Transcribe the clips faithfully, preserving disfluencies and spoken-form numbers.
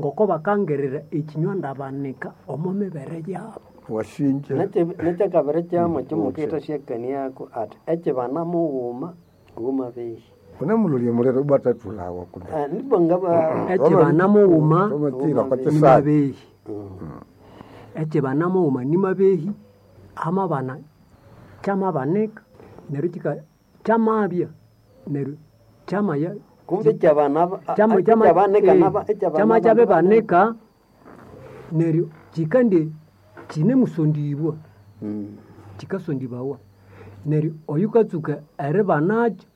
Ngoko bakangirira ekinywa ndabanika omo mibere yabo. Wasinja. Nekyakabiri kyamo kyomukitha syakaniako ati ekyibana mughuma wumabehi. Unemulolya muliro bwatathulawa kundi. Nibwa ngaba Ekyibana mughuma Tomatira kwa kisasi. nimabehi. Ekyibana mughuma nimabehi amabana kyamabanika neryo kika kyamabya neryo kyamaya kumbe kyabana kyama kyama ekyabanika eh, naba ekyabana kyama kyabibanika neryo kikande kinemusondibwa kikasondibawa neryo oyukatsuka eribanakyo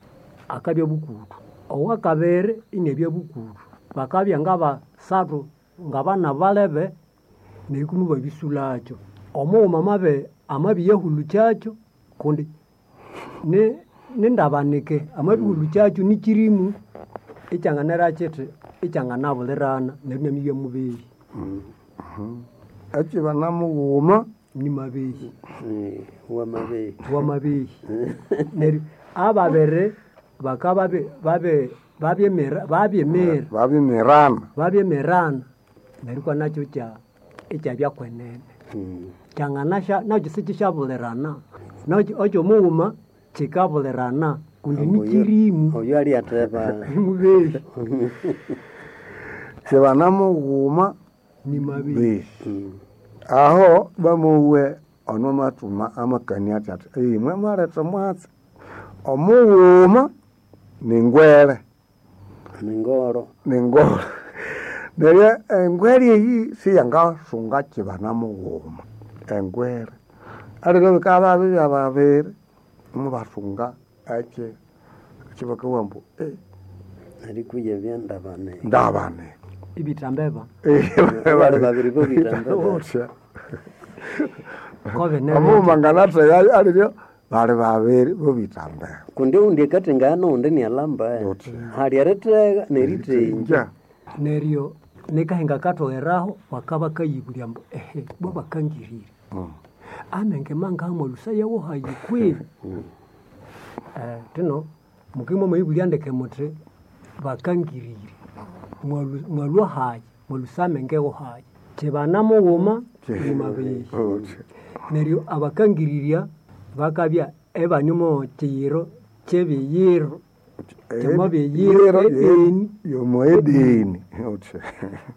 akabya bukutu owakabiri inabya bukutu bakabya ngabasathu ngabana balebe neryo kumi babisulakyo omughuma amabi amabiyahulukyakyo kundi ni nindabanike amabihulukyakyo nikirimu ekyanganera kithi ekyanganabulirana neryo inamibya mubehi. Ekyibana mughuma nimabehi. Wamabehi. Wamabehi. Neryo ababiri bakaba babe babyemira babyemira babimirana. Babyemirana neryo kwa nakyo kya ekyabya kwenene. Kyanganasya nakyo sikisyabulirana. Nakyo ekyo mughuma kikabulirana kundi nikirimu. Oyo alyatheba. Nimubehi. Kyibana mughuma nimabehi. Aho bamuwe ono mathuma amakania athi athi imwe mwaletha omwatsi omughuma ningwere. Ningoro. Ningoro. Neryo engwere eyi siyangasunga kibana mughuma. Engwere. Aliro bikabya bibya babiri mubasunga eki ekibakawa ambu eh. Erikuya byandabane. Ndabane. Ibithambeba. Bali babiri bo bitambeba. Kobe Omughuma nganatheya aliryo bali babiri bo bitambeba. Kundi oundi akathengana noundi nialamba. Hali erithega nerithenja. Neryo nikahinga kathogheraho bakaba bakayibulya ambu ehe bo bakangirire. Amenge mangaha mwalusaya wohayi kwi? Eh, thino mukimwa mwayibulya ndeke muthi bakangirire. Mwalu mwalwa hayi, mwalusa amenge wohayi. Kibana mughuma nimabehi. Neryo abakangirirya bakabya ebanyuma kiyiro kyebiyiro kyamabiyiro edini. Yomo edini.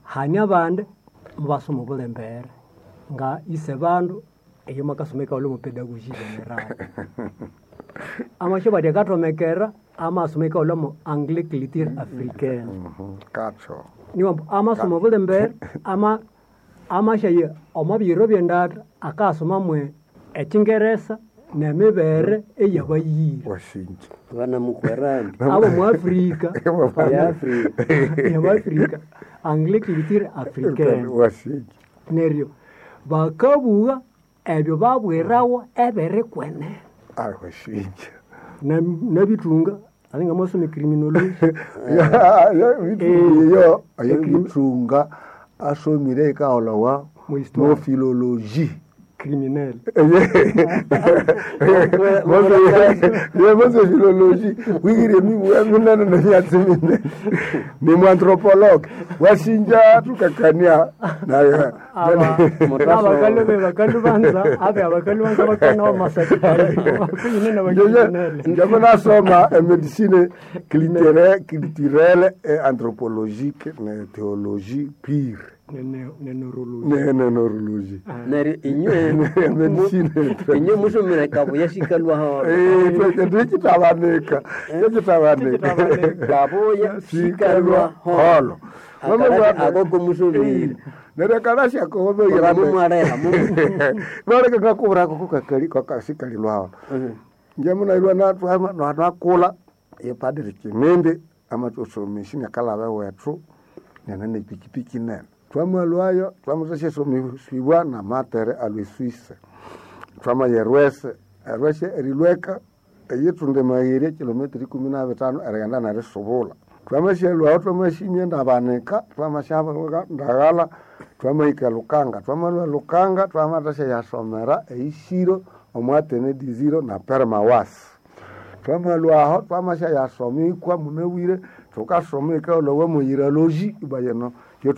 Hane abandi mubasoma obulembere nga ise bandu eyo makasoma ekaghulha omu pedagogy general. Amasyo bati akathomekera amasoma ekaghulha omu anglais culture africaine. Katho. Niwambu amasoma obulembere ama amashaya omo biyiro byendatha akasoma mwe ekyingeresa nemibere eyabayira. Wasinja. Banamukwera Abo mu Afrika. Ya Afrika. Abo Afrika. Anglais culture africaine. Wasinja. Neryo bakabugha ebyo babwirawa ebiri kwenene. Ah, wasinja. Nabithunga alinga mwasoma criminology. Ya, ya, yo, ayo bithunga asomire ekaghulhawa mo philologie. Criminel. Ye mose philologie wigire mibwa minene nemyatsi minene. Ni muanthropologue. Wasinja tukakania naye. Abakalu be bakalu banza abe abakalu banza bakana wa masakari. Kuyine na bakriminel. Njabo nasoma medicine culturelle, culturelle et anthropologique ne théologie pure. Ne ne neurologie. Ne ne neurologie. Neryo inywe Medicine. inywe musomere kabuya sikalwa holo. Eh, twekitabanika. Twekitabanika. Kabuya sikalwa holo. Akoko musomire. Neryo kalasya kobe Mumwaleha Bareke ngakubura kukakali kakasikalilwa holo. Njamunailwa natwama natwakula yepadiri Kimindi amatusomesha nyakalaba wethu nene nepikipiki nene. Twamalwayo twamuthasyasomisibwa namatere alwe Swisse. Twamaya erwese, erwese erilweka eyithunda emagheri kilometer ikumi na bitano erighenda nerisubula. Twamasyalwaho twamasimya ndabanika, twamasyabuka ndaghala twamahika Lukanga. Twamalwa Lukanga twamathasya eisiro omwatene diziro na permawasi. Twamalwaho twamasyayasomikwa munabwire thukasoma ekaghulhawa moyiralogy ibayeno